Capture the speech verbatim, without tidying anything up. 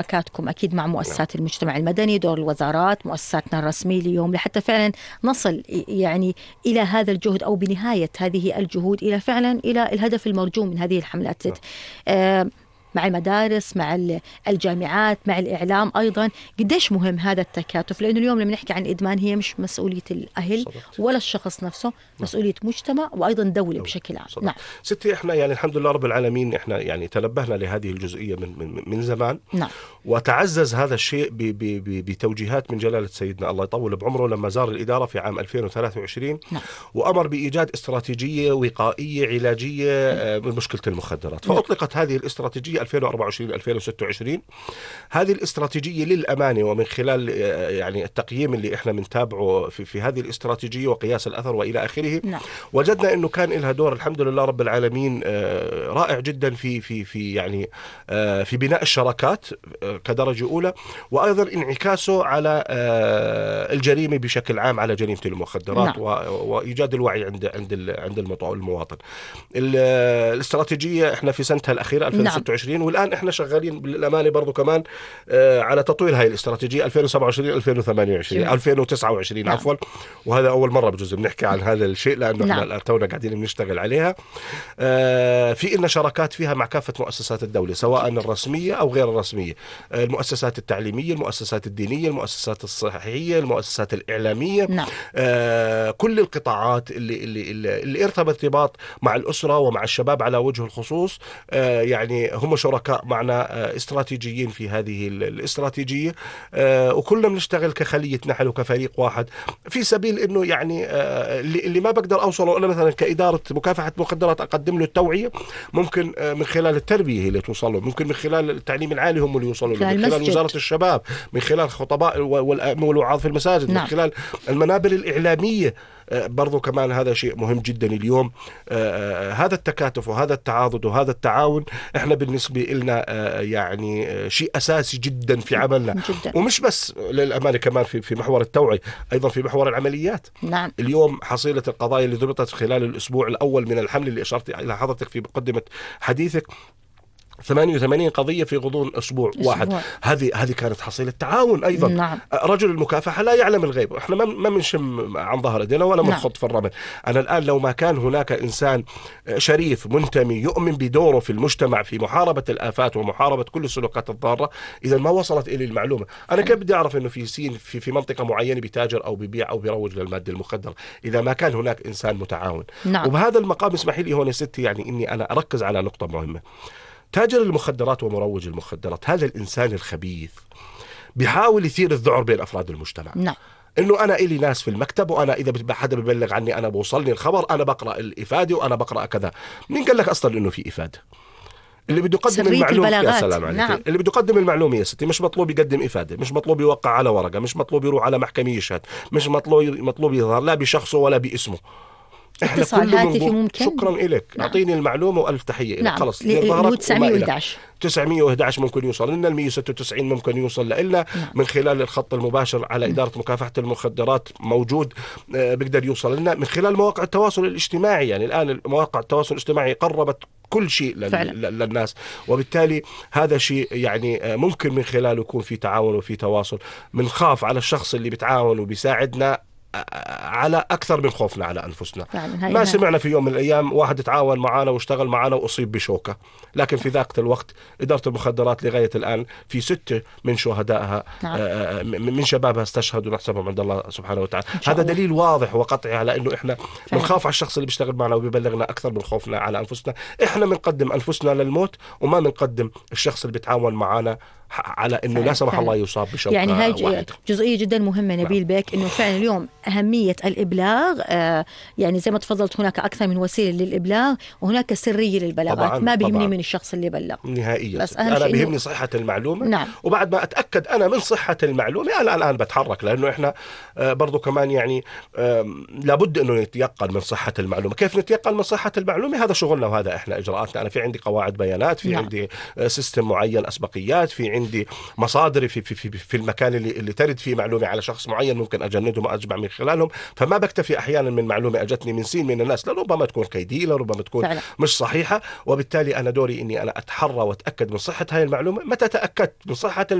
شراكاتكم أكيد مع مؤسسات المجتمع المدني، دور الوزارات، مؤسساتنا الرسمية اليوم، لحتى فعلا نصل يعني إلى هذا الجهد أو بنهاية هذه الجهود إلى فعلا إلى الهدف المرجو من هذه الحملات. آه مع المدارس، مع الجامعات، مع الإعلام أيضا. قديش مهم هذا التكاتف، لأنه اليوم لما نحكي عن الإدمان هي مش مسؤولية الأهل ولا الشخص نفسه، مسؤولية مجتمع وأيضا دولة بشكل عام. نعم ستي، إحنا يعني الحمد لله رب العالمين إحنا يعني تنبهنا لهذه الجزئية من من من زمان. نعم. وتعزز هذا الشيء بتوجيهات من جلالة سيدنا الله يطول بعمره لما زار الإدارة في عام ألفين وثلاثة وعشرين. نعم. وأمر بإيجاد استراتيجية وقائية علاجية من مشكلة المخدرات. فأطلقت هذه الاستراتيجية ألفين وأربعة وعشرين ألفين وستة وعشرين. هذه الاستراتيجية للأمانة ومن خلال يعني التقييم اللي احنا بنتابعه في, في هذه الاستراتيجية وقياس الأثر وإلى آخره. نعم. وجدنا إنه كان لها دور الحمد لله رب العالمين رائع جدا في في في يعني في بناء الشراكات كدرجة أولى، وأيضا انعكاسه على الجريمة بشكل عام، على جريمة المخدرات. نعم. وإيجاد الوعي عند عند عند المواطن. الاستراتيجية احنا في سنتها الأخيرة ألفين وستة وعشرين. نعم. والآن احنا شغالين بالأمانة برضو كمان على تطوير هاي الاستراتيجية ألفين وسبعة وعشرين ألفين وثمانية وعشرين ألفين وتسعة وعشرين. نعم. عفوا. وهذا أول مرة بجوز بنحكي عن هذا الشيء لأنه نعم. احنا تونا قاعدين بنشتغل عليها. في إلنا شراكات فيها مع كافة مؤسسات الدولة سواء الرسمية أو غير الرسمية، المؤسسات التعليمية، المؤسسات الدينية، المؤسسات الصحية، المؤسسات الإعلامية. نعم. كل القطاعات اللي اللي اللي ارتبط ارتباط مع الأسرة ومع الشباب على وجه الخصوص، يعني هم شركاء معنا استراتيجيين في هذه الاستراتيجية، وكلنا بنشتغل كخلية نحل وكفريق واحد في سبيل إنه يعني اللي ما بقدر أوصله أنا مثلا كإدارة مكافحة مخدرات أقدم له التوعية، ممكن من خلال التربية هي اللي توصله، ممكن من خلال التعليم العالي هم اللي يوصلوا له، من خلال وزارة الشباب، من خلال الخطباء والوعاظ في المساجد. نعم. من خلال المنابر الإعلامية برضو كمان. هذا شيء مهم جدا اليوم. آه هذا التكاتف وهذا التعاضد وهذا التعاون احنا بالنسبة لنا آه يعني آه شيء أساسي جدا في عملنا جداً. ومش بس للأمانة كمان في في محور التوعية، أيضا في محور العمليات. نعم. اليوم حصيلة القضايا اللي ضبطت خلال الأسبوع الأول من الحمل اللي أشرت إلى حضرتك في مقدمة حديثك، ثمانية وثمانين قضية في غضون أسبوع, أسبوع. واحد. هذه هذه كانت حصيلة تعاون أيضا. نعم. رجل المكافحة لا يعلم الغيب، احنا ما ما بنشم عن ظهر ايدينا ولا بنخط. نعم. في الرمل. أنا الآن لو ما كان هناك إنسان شريف منتمي يؤمن بدوره في المجتمع في محاربة الآفات ومحاربة كل السلوكات الضارة، إذا ما وصلت إلي المعلومة أنا كيف بدي أعرف إنه في سين في في منطقة معينة بتاجر أو ببيع أو بيروج للمادة المخدرة إذا ما كان هناك إنسان متعاون. نعم. وبهذا المقام اسمحي لي هون يا ستي يعني إني أنا أركز على نقطة مهمة. تاجر المخدرات ومروج المخدرات هذا الإنسان الخبيث بيحاول يثير الذعر بين أفراد المجتمع. نعم. إنه أنا إلي ناس في المكتب وأنا إذا حدا ببلغ عني أنا بوصلني الخبر أنا بقرأ الإفادة وأنا بقرأ كذا. مين قال لك أصلا إنه في إفادة؟ اللي بده يقدم المعلومة يا سلام عليك. نعم. اللي بده يقدم المعلومة يا ستي مش مطلوب يقدم إفادة، مش مطلوب يوقع على ورقة، مش مطلوب يروح على محكمة يشهد، مش مطلوب مطلوب يظهر لا بشخصه ولا باسمه. اتصال هاتفي ممكن. شكرا لك. نعم. أعطيني المعلومة وألف تحية لك. نعم. خلص تسعمية وإحدى عشر تسعمية وإحدى عشر ممكن يوصل لنا، المية وستة وتسعين ممكن يوصل لنا. نعم. من خلال الخط المباشر على إدارة مكافحة المخدرات موجود آه بيقدر يوصل لنا من خلال مواقع التواصل الاجتماعي. يعني الآن مواقع التواصل الاجتماعي قربت كل شيء للناس، وبالتالي هذا شيء يعني ممكن من خلاله يكون في تعاون وفي تواصل. منخاف على الشخص اللي بتعاون وبيساعدنا على أكثر من خوفنا على أنفسنا. ما سمعنا في يوم من الأيام واحد تعاون معنا واشتغل معنا وأصيب بشوكة، لكن في ذاك الوقت إدارة المخدرات لغاية الآن في ستة من شهدائها من شبابها استشهدوا نحسبهم عند الله سبحانه وتعالى. هذا دليل واضح وقطعي على إنه إحنا بنخاف على الشخص اللي بيشتغل معنا وبيبلغنا أكثر من خوفنا على أنفسنا. إحنا بنقدم أنفسنا للموت وما بنقدم الشخص اللي بيتعاون معنا على إنه لا سمح الله يصاب بشوكة. يعني هاي واحد. جزئية جدا مهمة نبيل بك، إنه فعلا اليوم أهمية الإبلاغ. آه يعني زي ما تفضلت هناك أكثر من وسيلة للإبلاغ وهناك سرية للبلاغات. ما بيهمني من الشخص اللي بلغ نهائيا، بس أنا بيهمني صحة المعلومة. نعم. وبعد ما أتأكد أنا من صحة المعلومة أنا الآن بتحرك، لأنه إحنا آه برضو كمان يعني آه لابد أنه نتيقن من صحة المعلومة. كيف نتيقن من صحة المعلومة؟ هذا شغلنا وهذا إحنا إجراءاتنا. أنا في عندي قواعد بيانات، في نعم. عندي آه سيستم معين أسبقيات، في عندي عندي مصادري في في في, في المكان اللي اللي ترد فيه معلومه على شخص معين ممكن اجندهم واجمع من خلالهم. فما بكتفي احيانا من معلومه اجتني من سين من الناس، لربما تكون كيديه، لربما تكون فعلا مش صحيحه، وبالتالي انا دوري اني انا اتحرى واتاكد من صحه هاي المعلومه. متى تاكدت من صحه